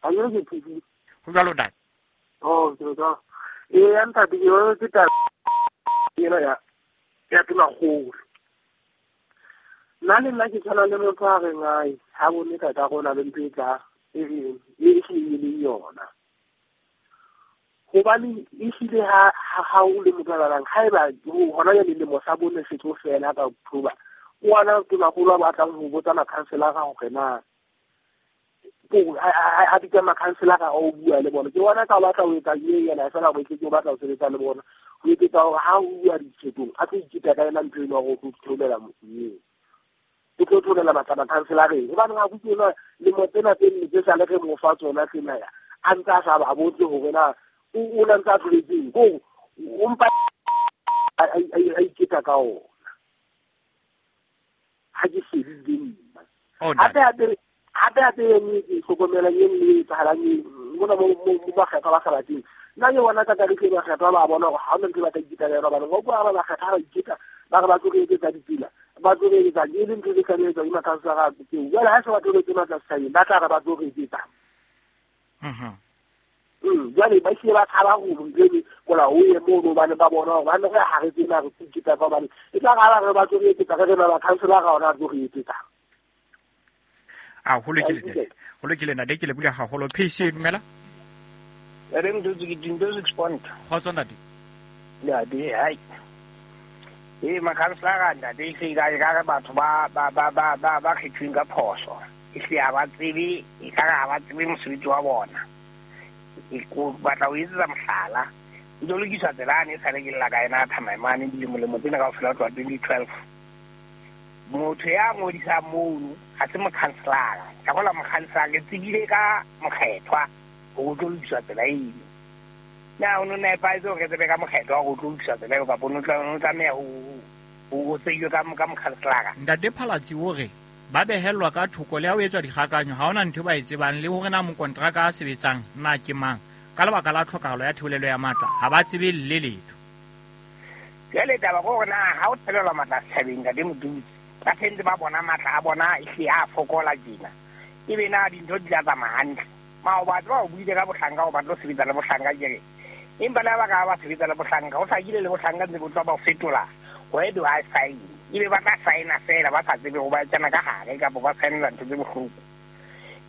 ha ke ke P C Ho jwalo ntate. Oh, ke ka. E ntate ke yona ke taba ena ya ya tonakgolo. Nna le nna ke tshwana le motho a reng ai ha bone ka ka rona le ntho e tla e reng e ehlile yona. Hobane ehlile ha ha o le motho a balang haeba hona jwale lemo sa bone se tlo fela ka October, o ana tonakgolo a batlang ho botsa makhanselara hore na a bitsa makhanselara a o bua le bona. Ke bona ka batla ho etsa ye yena fela hore ke batla ho sebetsa le bona. Ho etsetsa hore ha o bua dikgethong a tlo iketa ka yena ntho eno hore o tlo theolela eo. O tlo theolela matla makhanselareng. Hobane ha butse ena lemo tsena tse nne tse sale re mo fa tsona tsena ya a ntse a sa ba botse hore na o na ntse a tloletseng ko o mpa a iketa ka ona. Ha ke shebile nna. Hape hape hape hape e nngwe ke hlokomelang e nngwe e etsahalang mona mo mo bakgethwa ba Galateng. Nna ke bona ka ka re bakgethwa ba bona hore ha hona ntho e ba tla iketa ka yona hobane wa utlwa ha ba bakgethwa ba iketa ba re ba tlo re etsetsa ditsela, ba tlo re etsetsa e le ntho tse tlameha etswa ke makhanselara tseo. Jwale ha se ba tlo re etse matla setjhabeng ba tla re ba tlo re etsetsa. Mhm. Mm, jwale ba hlile ba tshaba ho ntho eno kola ho ye mono hobane ba bona hore ba ne re ha re tsena re iketa ka hobane e tla re ha ba re ba tlo re etsetsa re re makhanselara ona a tlo re etsetsa. A ho lokile ntate. Ho lokile ntate, ke lebohile haholo. P C dumela. Re motho ke dinto six point. Kgotso ntate. Ntate hai. E makhanselara ntate e hlile ka re batho ba ba ba ba ba ba kgethweng ka phoso. E hlile ha ba tsebe, e ka re ha ba tsebe mosebetsi wa bona. E ko batla ho etsetsa mohlala. Ntlo lokiswa tsela ne sale ke lla ka ena Thamaemane dilemo tsena kaofela ho tloha twenty twelve. Motho ya ngodisang mono ha se mokhanselara. Ka hola mokhanselara ke tsebile ka mokgethwa ho tlo lokiswa tsela eno. Na o no nepahetse hore re tsebe ka mokgethwa hore o tlo lokiswa tsela eo kapa o no tla o tlameha ho ho tsejwe ka ka mokhanselara. Ntate Phalatsi o re ba behellwa ka thoko le ha o etswa dikgakanyo ha hona ntho ba e tsebang le hore na mokontraka a sebetsang na ke mang ka lebaka la tlhokahalo ya theolelo ya matla ha ba tsebe le letho. Jwale taba ke hore na ha o thelelwa matla setjhabeng ntate Motutsi ba sentse ba bona matla a bona ehlile a fokola tjena ebe na dintho di tla tsamaya hantle. Maoba tseba o buile ka bohlanka o batla ho sebetsa le bohlanka ke re empa le ha ba ka ba sebetsa le bohlanka ho hlakile le bohlanka ntse bo tloha ba o fetola where do I sign ebe ba tla signa fela ba sa tsebe ho ba kena ka hare kapa ba signela ntho tse bohloko.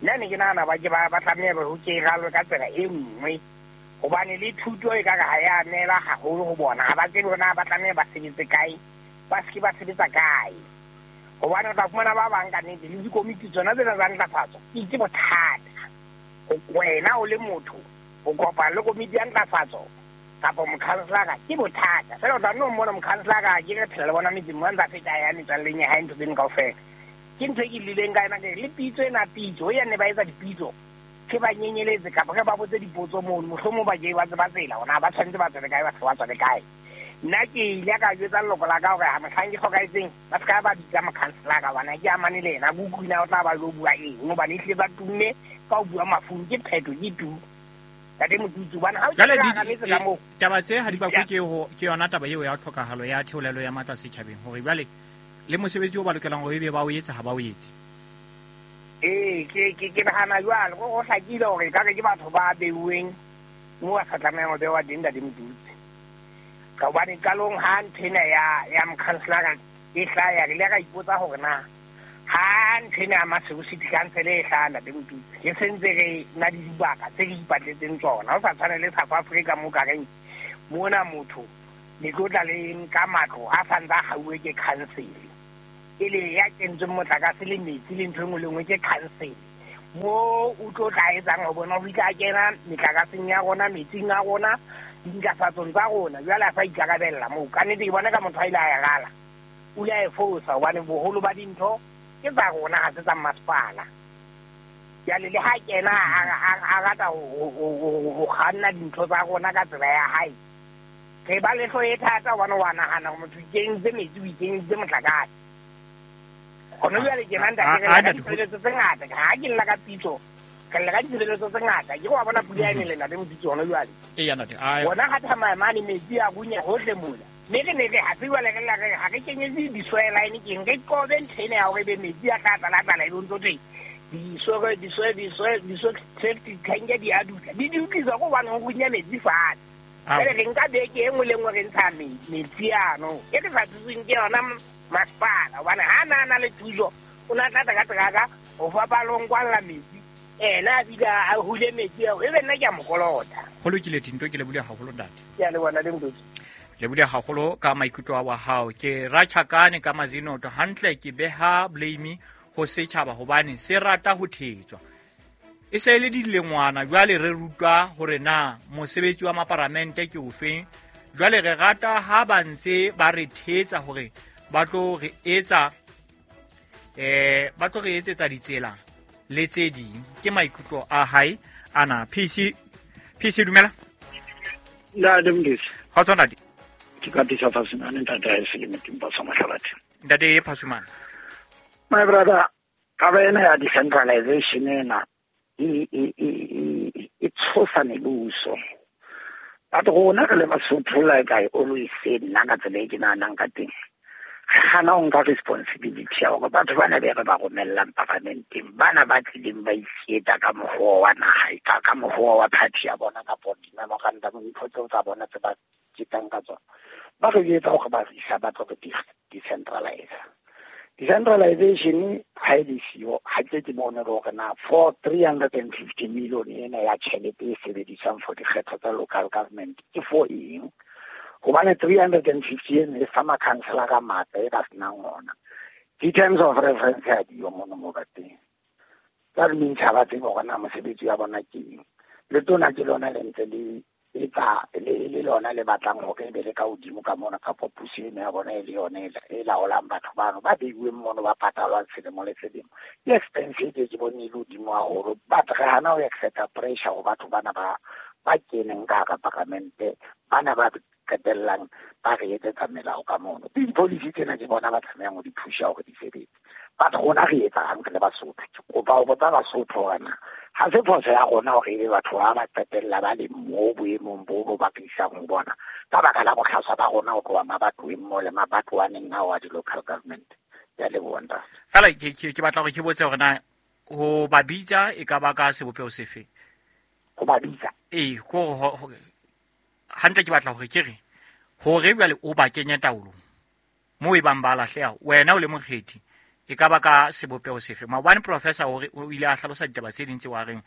Nna ne ke nahana ba ke ba ba tlameha ho ke ralwe ka tsela e nngwe hobane le thuto e ka re ha ya neela haholo ho bona ha ba tsebe hore na ba tlameha ba sebetse kae ba se ke ba sebetsa kae. Hobane o tla fumana ba bang ka nnete le dikomiti tsona tsena tsa ntlafatso ke itse bothata. Wena o le motho o kopana le komiti ya ntlafatso kapa mokhanselara ke bothata. Fela o tla nno mmona mokhanselara ke re phela le bona metseng mo a ntsa feta ya metswalleng ya hae ntho tseno kaofela. Ke ntho e ke lleleng ka yona ke re le pitso ena pitso ya ne ba etsa dipitso ke ba nyenyeletse kapa ke ba botse dipotso mono mohlomong ba ke ba tseba tsela hore na ba tshwanetse ba tswele kae ba se ba tswele kae. Nna ke ile ka jwetsa leloko la ka hore ha mohlang ke hlokahetseng ba se ka ba bitsa mokhanselara hobane ha ke amane le yena. Ke utlwe na o tla ba lo bua eng hobane ehlile ba tumme ka ho bua mafung ke phetho ke tu. Ntate Motutsi hobane ha o Jwale kena di hara metse ka moo. Taba tse ha di bakwe ke ho ke yona taba eo ya tlhokahalo ya theolelo ya matla setjhabeng hore jwale le mosebetsi o ba lokelang hore ebe ba o etsa ha ba o etse. Ee, ke ke ke nahana jwalo ho hlakile hore ekare ke batho ba beuweng moo ba sa tlamehang ho bewa teng ntate Motutsi. Ka hobane qalong ha ntho ena ya ya mokhanselara e hlaya re ile ra ipotsa hore na ha ntho ena ya Maseru City Council e hlaya ntate Motutsi re sentse re na le dibaka tse re ipatletseng tsona ho sa tshwane le South Africa mo ka reng mona motho le tlo tla le nka matlo a sa ntse a hauwe ke council e le ya kentsweng motlakase le metsi le ntho e nngwe le nngwe ke council mo o tlo tla etsang ho bona ho ile a kena metlakaseng ya rona metsing a rona dintlafatsong tsa rona jwale a sa ikarabella moo. Ka nnete ke bona ka motho a ile a e rala o ile a e fosa hobane boholo ba dintho ke tsa rona ha se tsa masepala. Jwale le ha kena a rata ho kganna dintho tsa rona ka tsela ya hae re ba le hloho e thata hobane wa nahana hore motho o ikentse metsi o ikentse motlakase. Hona jwale ke nna ntate re lla ka ditshebeletso tse ngata ha ke lla ka pitso re lla ka ditshebeletso tse ngata ke wa bona pula e nele ntate Motutsi hona jwale. Eya ntate a bona ha Thamaemane metsi a runya hohle mona mme re ne re ha tseba le re la re ha re kenyetse di-soil line keng re qobe ntho ena ya hore ebe metsi a tla tlala tlala ebe o ntso thwe Diso diso diso diso safety tank di a dutla. Di dutliswa go bana go runya metsi fatshe. Jwale re nka beke e nngwe le nngwe re ntsha metsi ano. E re sa thusweng ke yona masepala hobane ha na na le thuso o na tla ka teraka ho fapa lo nkwalla metsi. Ena a bile a hule metsi ao e be nna ke a mo kolota. Ho lokile Tinto, ke lebohile haholo ntate. Ke a leboha le Mdutsi. Lebohile haholo ka maikutlo a wa hao. Ke ratjhakane ka mazinoto hantle, ke beha blame ho setjhaba hobane se rata ho thetswa. E se le dilengwana jwale re rutwa hore na mosebetsi wa maparamente ke ofeng. Jwale re rata ha ba ntse ba re thetsa hore ba tlo re etsa eh ba tlo re etsetsa ditsela le tse ding. Ke maikutlo a hae ana. P C P C dumela. Ntate Mdutsi. Kgotso ntate. Ke ka tisa Phasumane ntate ha e se le motimpa sa Mahlabathe. Ntate Phasumane. My brother, taba ena ya decentralization ena e e e e tshosa mebuso. Batho rona re le Basotho, like I always say, nna ka tsela e ke nahanang ka teng, re hana ho nka responsibility ya hore batho bana be re ba romellang paramenteng, bana ba tlileng ba iketa ka mokgwa wa naha, ka ka mokgwa wa party ya bona kapo di-memorandum dintho tseo tsa bona tse ba ketang ka tsona, ba re jwetsa hore ba re isa ba tlo re decentralize. Decentralization ha e le siyo, ha ke ke bone hore na for three hundred and fifty million ena ya tjhelete e sebediswang for dikgetho tsa local government ke for eng? Hobane three hundred and fifty ena e fa makhanselara matla e ba senang ona. Di-terms of reference ha diyo mono mo ba teng. That means ha ba tsebe hore na mosebetsi wa bona ke eng. Letona ke lona le ntse le etsa le le lona le batlang hore e be le ka hodimo ka mona kapo puso ena ya bona e le yone e laolang batho bano ba beiweng mono ba patalwang selemo le selemo. Ke expense e ke bone e le hodimo haholo, but re hana ho accepta pressure ho batho bana ba ba keneng ka hara paramente, bana ba qetellang ba re etsetsa melao ka mono. Di-policy tsena ke bona ba tlamehang ho di pusha hore di sebetse. But rona re etsang re le Basotho? Ke kopa ho botsa Basotho hore na ha se phoso ya rona hore ebe batho ba ba qetella ba le moo boemong bo bo ba isang ho bona ka baka la bohlaswa ba rona ho tloha mabatoweng mo le mabatowaneng ao a di-local government. Ke a leboha ntate. Fela ke ke batla hore ke botse hore na ho ba bitsa e ka ba ka sebopeho sefe? Ho ba bitsa? Ee, ko hantle ke batla hore ke re hore jwale o ba kenye taolong moo e bang ba lahleha, wena o le mokgethi e ka ba ka sebopeho sefe? Maobane professor hore o ile a hlalosa ditaba tse ding tse wa reng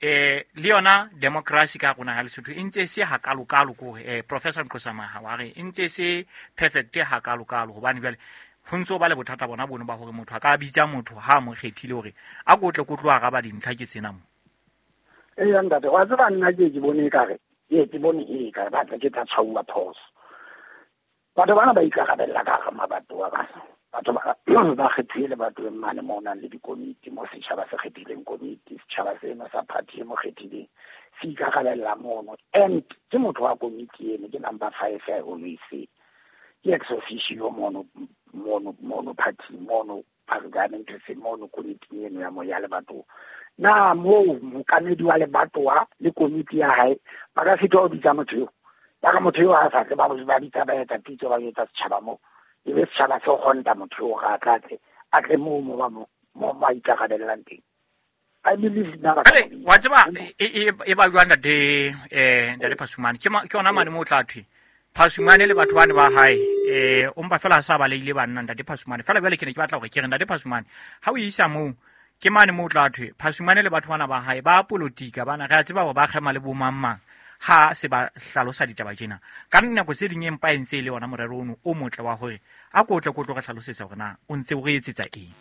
eh le yona democracy ka rona ha Lesotho e ntse se hakalokalo ko eh professor Nqosamaha wa re e ntse se perfect hakalokalo hobane jwale ho ntso ba le bothata bona bono ba hore motho a ka bitsa motho ha mo kgethile hore a kotle ko tlo araba dintlha ke tsena mo. Ee ntate, wa tseba nna ke ke bone ekare ke ke bone e ka ba tla ke tla tshwauwa phoso. Batho bana ba ikarabella ka hara mabatowa ba batho ba ba kgethile lebatoweng mane mo ho nang le dikomiti, mo setjhaba se kgethileng komiti, setjhaba seno sa party e mo kgethileng se ikarabella mono. And ke motho wa komiti eno, ke number five I always say. Ke ex officio mono mono mono party mono parliament se mono komiti eno ya mo ya lebatowa. Na moo mokamedi wa lebatowa le komiti ya hae ba ka sitwa ho bitsa motho eo. Ba ka motho eo ha sa tle ba ba bitsa ba etsa pitso ba etsa setjhaba moo. E be setjhaba se kgonta motho eo ga a tla tle a tle moo mo ba mo mo ba ikarabellang teng. I believe nna ba ka wa tseba e e ba jwang ntate eh ntate Phasumane ke ke yona mane mo tla thwe Phasumane le batho bane ba hae eh o mpa fela sa ba leile banna ntate Phasumane fela jwale ke ne ke batla hore ke re ntate Phasumane ha o isa moo ke mane mo tla thwe Phasumane le batho bana ba hae ba politika bana re a tseba hore ba kgema le bo mang mang ha se ba hlalosa ditaba tjena ka nako tse ding empa e ntse e le yona morero ono o motle wa hore a ko tle ko tlo re hlalosetsa hore na o ntse o re etsetsa eng.